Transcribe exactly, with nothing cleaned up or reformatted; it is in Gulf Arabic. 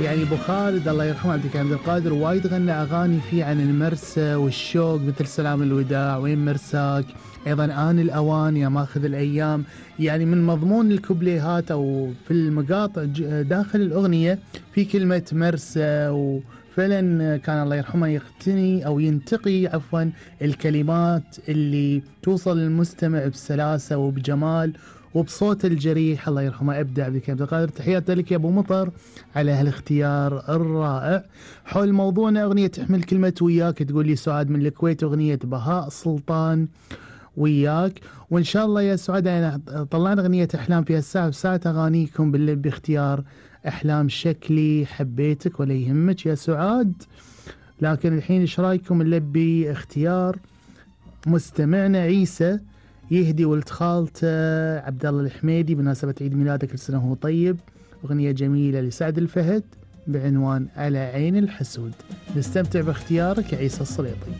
يعني ابو خالد الله يرحمه عبد الحليم عبد القادر وايد غنى اغاني فيه عن المرسى والشوق، مثل سلام الوداع، وين مرساك، ايضا آن الاوان، يا ماخذ الايام. يعني من مضمون الكوبليهات او في المقاطع داخل الاغنيه في كلمه مرسى، وفعلا كان الله يرحمه يقتني او ينتقي عفوا الكلمات اللي توصل للمستمع بسلاسه وبجمال وبصوت الجريح. الله يرحمه ابدع عبد الحليم عبد القادر. تحياتي لك يا ابو مطر على هالاختيار الرائع. حول موضوعنا اغنيه تحمل كلمه وياك، تقول لي سعاد من الكويت اغنيه بهاء سلطان وياك. وان شاء الله يا سعاد انا طلعنا اغنيه احلام في هالساعه، بساعه اغانيكم بالليل باختيار احلام شكلي حبيتك، ولا يهمك يا سعاد. لكن الحين ايش رايكم نلبي اختيار مستمعنا عيسى يهدي ولد خالته عبد الله الحميدي بمناسبة عيد ميلاده، كل سنة وهو طيب، أغنية جميلة لسعد الفهد بعنوان على عين الحسود. نستمتع باختيارك يا عيسى السليطي.